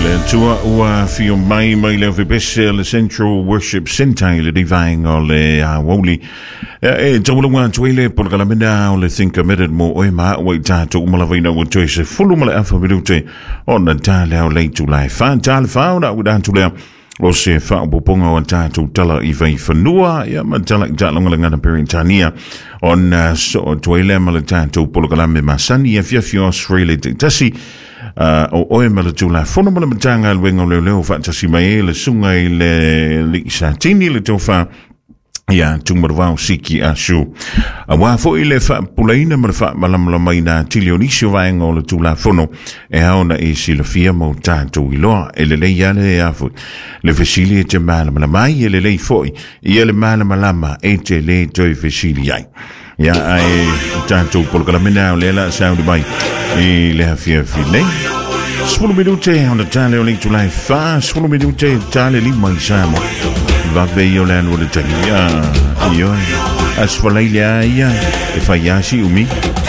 Le Atua ua afio mai mai le aufepese le Central Worship Centre i le divaenga o le aoauli. E taualauga atu ai le polokalame o le Think Committed mo oe ma ua i tatou uma lava ina ua toe 10:30 minute ona tale ao le itula e 4 tale 4 ona ua atu lea o se faaopoopoga o tatou tala i vaifanua ia ma tala i taaloga Peretania ona soo atu ai lea ma le tatou polokalame masani afiafi o Australia taitasi o oe ma le Tulafono ma le Matagaluega o Leoleo faatasi mai ai le susuga i le Alii Satini le Tofa ia Tumalavao Siki Asu. Aua foi le faapupulaina ma le faamalamalamaina atili o nisi o vaega o le Tulafono e ao ona e silafia ma o tatou iloa. E lelei lava le a foi le fesili e te malamalama ai, e lelei foi ia le malamalama e te lē toe fesili ai. Ia ae tatou polokalame o lea la sauni mai i le afiafi nei. 10 minute ona tale o le itula e 4, 10 minute tale 5 i Samoa. Vave ia o le alu o le taimi. Ia, ioe. Aso Faraile a ia, e fai asi umi.